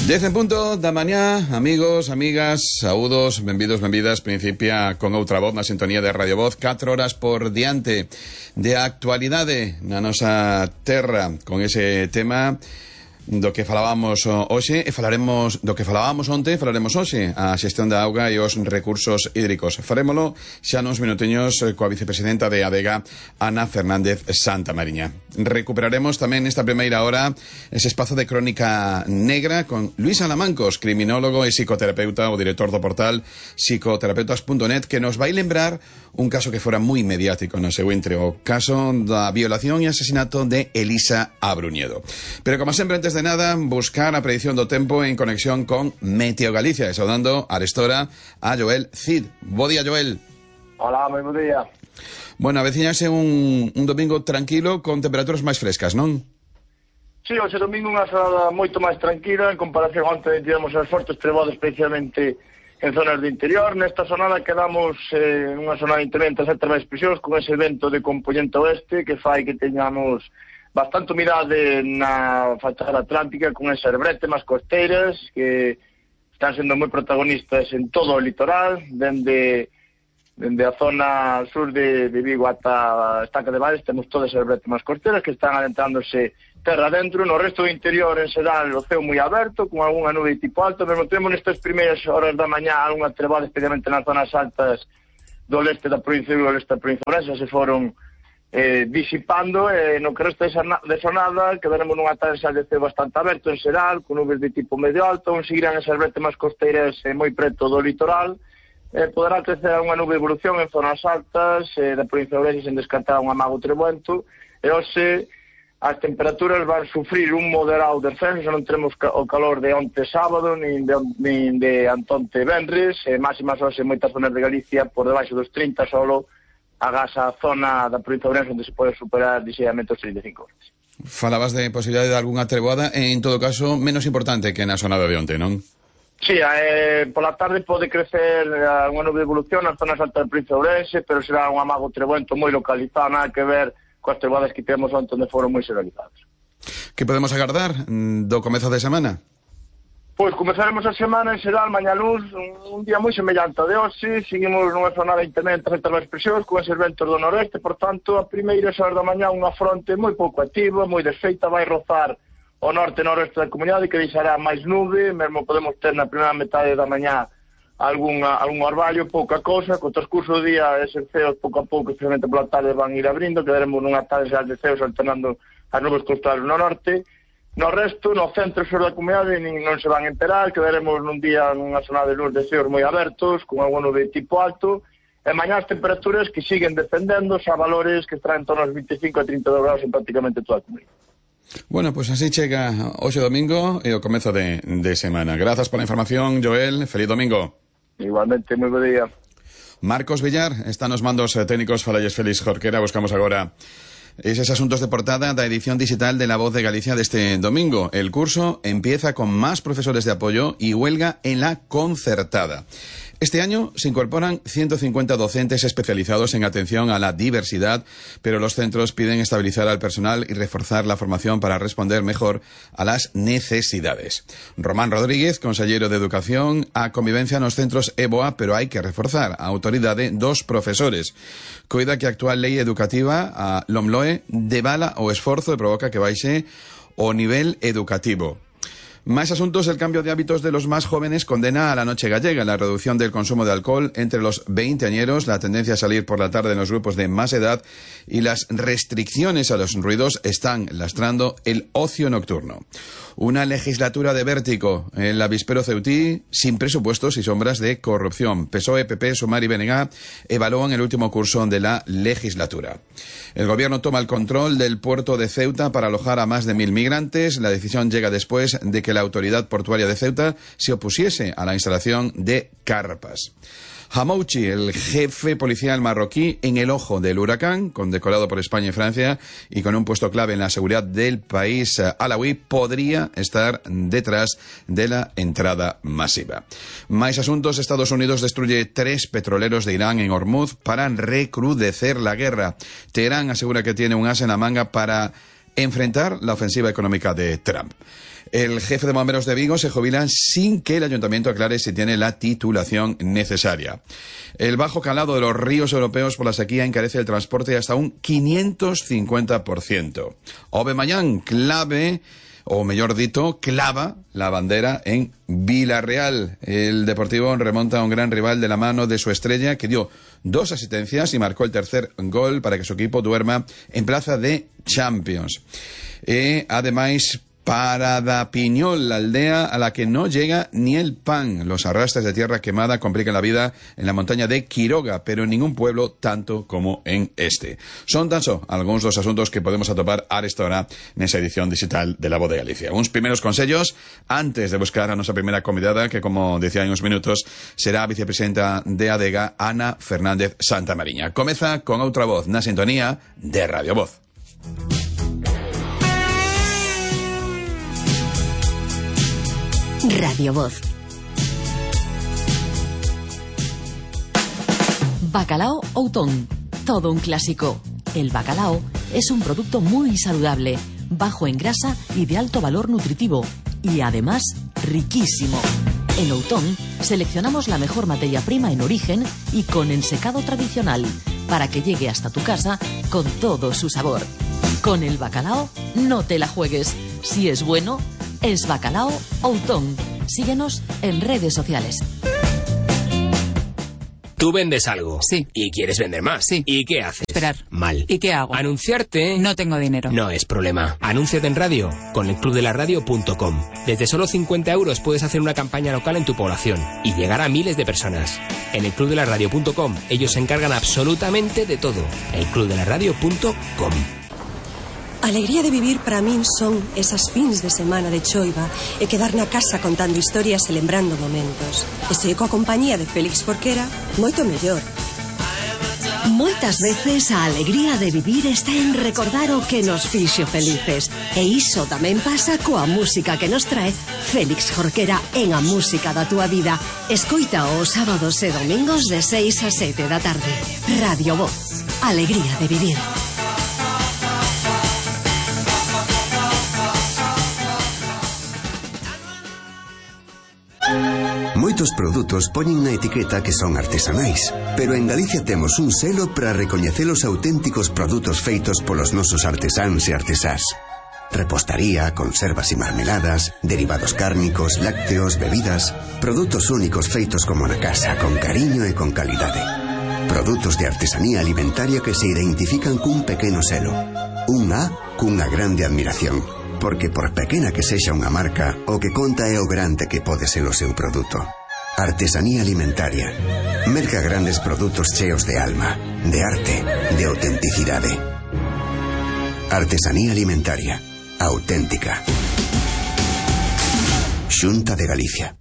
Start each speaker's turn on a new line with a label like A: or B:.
A: 10 en punto da mañá, amigos, amigas, saúdos, benvidos, benvidas. Principia con outra voz na sintonía de Radio Voz, 4 horas por diante de actualidade na nosa terra, con ese tema do que falábamos hoxe e falaremos do que falábamos onte, falaremos hoxe, a xestión da auga e os recursos hídricos. Farémolo xa nos minuteños coa vicepresidenta de ADEGA, Ana Fernández Santamariña. Recuperaremos tamén nesta primeira hora ese espazo de crónica negra con Luis Alamancos, criminólogo e psicoterapeuta, o director do portal psicoterapeutas.net, que nos vai lembrar un caso que fora moi mediático no seu intre, o caso da violación e asesinato de Elisa Abruñedo. Pero como sempre, antes de nada, buscar a predicción do tempo en conexión con Meteo Galicia, e saudando arestora a Joel Cid. Bo día, Joel.
B: Hola, moi bo día.
A: Bueno, aveciñase un domingo tranquilo con temperaturas máis frescas, non?
B: Sí, hoxe domingo unha xornada moito máis tranquila en comparación onte tivemos as fortes trebadas especialmente en zonas do interior. Nesta xornada quedamos unha xornada interventa certas máis presións con ese vento de componente oeste que fai que teñamos bastante humidade na fachada atlántica con esas brétemas costeiras que están sendo moi protagonistas en todo o litoral, dende a zona sur de Vigo ata a Estaca de Valles. Temos todas as brétemas costeiras que están adentrándose terra dentro. No resto do interior, en xeral, o ceo moi aberto, con algunha nube tipo alto, pero temos nestas primeiras horas da mañá algunha trebada, especialmente nas zonas altas do leste da provincia de Vigo, leste da provincia de Ourense, se foron disipando, no que resta de xornada quedaremos nunha taxa de ceo bastante aberto en xeral, con nubes de tipo medio alto, onde seguirán esas brétemas costeiras moi preto do litoral. Poderá crecer unha nube de evolución en zonas altas da provincia de Ourense sen descartar un amago trebuento, e hoxe as temperaturas van sufrir un moderado descenso. Non teremos o calor de onte sábado nin de antonte venres, máximas hoxe en moitas zonas de Galicia por debaixo dos 30, solo agás a zona da provincia de Ourense onde se pode superar ligeiramente os 35 horas.
A: Falabas de posibilidade de algunha treboada, en todo caso menos importante que na xornada de onte, non?
B: Sí, pola tarde pode crecer unha nube de evolución nas zonas altas da provincia de Ourense, pero será un amago treboento moi localizado, nada que ver coas treboadas que temos onde foron moi xeralizadas.
A: Que podemos agardar do comezo de semana?
B: Pois comezaremos a semana en xeral, mañá luz, un día moi semellante a de hoxe. Seguimos nunha zona de interventa certas máis presións con eses ventos do noroeste, por tanto, a primeira horas da mañá unha fronte moi pouco activa, moi desfeita, vai rozar o norte e noroeste da comunidade, que deixará máis nube. Mesmo podemos ter na primeira metade da mañá algún orballo, pouca cousa. Co transcurso do día, eses ceos pouco a pouco, especialmente pola tarde, van ir abrindo, quedaremos nunha tarde de ceos alternando as nubes costadas no norte. No resto, no centro e sur da comunidade non se van a enterar, quedaremos nun día nunha zona de luz de ceos moi abertos, con algún nube de tipo alto, e mañá as temperaturas que siguen descendendo a valores que están en torno aos 25 a 32 graus en prácticamente toda a comunidade.
A: Bueno, pues así chega hoxe domingo e o comezo de semana. Grazas pola información, Joel. Feliz domingo.
B: Igualmente, moi bo día.
A: Marcos Villar está nos mandos técnicos. Falalles Félix Jorquera. Buscamos agora esos asuntos de portada da edición digital de La Voz de Galicia de este domingo. El curso empieza con más profesores de apoyo y huelga en la concertada. Este año se incorporan 150 docentes especializados en atención a la diversidad, pero los centros piden estabilizar al personal y reforzar la formación para responder mejor a las necesidades. Román Rodríguez, consellero de Educación, a convivencia nos centros EBOA, pero hai que reforzar a autoridade dos profesores. Coida que a actual lei educativa, a LOMLOE, devala o esforzo e provoca que baixe o nivel educativo. Más asuntos. El cambio de hábitos de los más jóvenes condena a la noche gallega, la reducción del consumo de alcohol entre los veinteañeros, la tendencia a salir por la tarde en los grupos de más edad y las restricciones a los ruidos están lastrando el ocio nocturno. Una legislatura de vértigo en el avispero ceutí, sin presupuestos y sombras de corrupción. PSOE, PP, Sumar y BNG evalúan el último curso de la legislatura. El gobierno toma el control del puerto de Ceuta para alojar a más de 1000 migrantes. La decisión llega después de que la autoridad portuaria de Ceuta se opusiese a la instalación de carpas. Hamouchi, el jefe policial marroquí, en el ojo del huracán, condecorado por España y Francia y con un puesto clave en la seguridad del país alauí, podría estar detrás de la entrada masiva. Más asuntos. Estados Unidos destruye 3 petroleros de Irán en Hormuz para recrudecer la guerra. Teherán asegura que tiene un as en la manga para enfrentar la ofensiva económica de Trump. El jefe de bomberos de Vigo se jubila sin que el ayuntamiento aclare si tiene la titulación necesaria. El bajo calado de los ríos europeos por la sequía encarece el transporte hasta un 550%. Aubameyang clava la bandera en Villarreal. El Deportivo remonta a un gran rival de la mano de su estrella, que dio 2 asistencias y marcó el tercer gol para que su equipo duerma en plaza de Champions. Además, Parada Piñol, la aldea a la que no llega ni el pan. Los arrastres de tierra quemada complican la vida en la montaña de Quiroga, pero en ningún pueblo tanto como en este. Son tan só algunos dos asuntos que podemos atopar a esta hora nesa edición digital de La Voz de Galicia. Uns primeros consellos antes de buscar a nosa primeira convidada, que, como decía en uns minutos, será a vicepresidenta de ADEGA, Ana Fernández Santamariña. Comeza con outra voz na sintonía de Radio Voz.
C: Radio Voz. Bacalao Outón, todo un clásico. El bacalao es un producto muy saludable, bajo en grasa y de alto valor nutritivo, y además riquísimo. En Outón seleccionamos la mejor materia prima en origen y con ensecado tradicional, para que llegue hasta tu casa con todo su sabor. Con el bacalao no te la juegues. Si es bueno, es Bacalao Outón. Síguenos en redes sociales.
D: Tú vendes algo.
E: Sí.
D: Y quieres vender más.
E: Sí.
D: ¿Y qué haces?
E: Esperar.
D: Mal.
E: ¿Y qué hago?
D: Anunciarte.
E: No tengo dinero.
D: No es problema. Anúnciate en radio con elclubdelaradio.com. Desde solo 50 € puedes hacer una campaña local en tu población y llegar a miles de personas. En elclubdelaradio.com ellos se encargan absolutamente de todo. elclubdelaradio.com.
F: A alegría de vivir para min son esas fins de semana de choiva e quedar na casa contando historias e lembrando momentos. E se coa compañía de Félix Jorquera, moito mellor.
C: Moitas veces a alegría de vivir está en recordar o que nos fixo felices. E iso tamén pasa coa música que nos trae Félix Jorquera en A Música da Túa Vida. Escoita os sábados e domingos de 6 a 7 da tarde. Radio Voz. Alegría de vivir.
G: Moitos produtos poñen na etiqueta que son artesanais, pero en Galicia temos un selo para recoñecer os auténticos produtos feitos polos nosos artesáns e artesás. Repostaría, conservas e marmeladas, derivados cárnicos, lácteos, bebidas, produtos únicos feitos como na casa, con cariño e con calidade. Produtos de artesanía alimentaria que se identifican cun pequeno selo. Un A cunha grande admiración. Porque por pequena que sexa unha marca, o que conta é o grande que pode ser o seu produto. Artesanía alimentaria. Merca grandes produtos cheos de alma, de arte, de autenticidade. Artesanía alimentaria. Auténtica. Xunta de Galicia.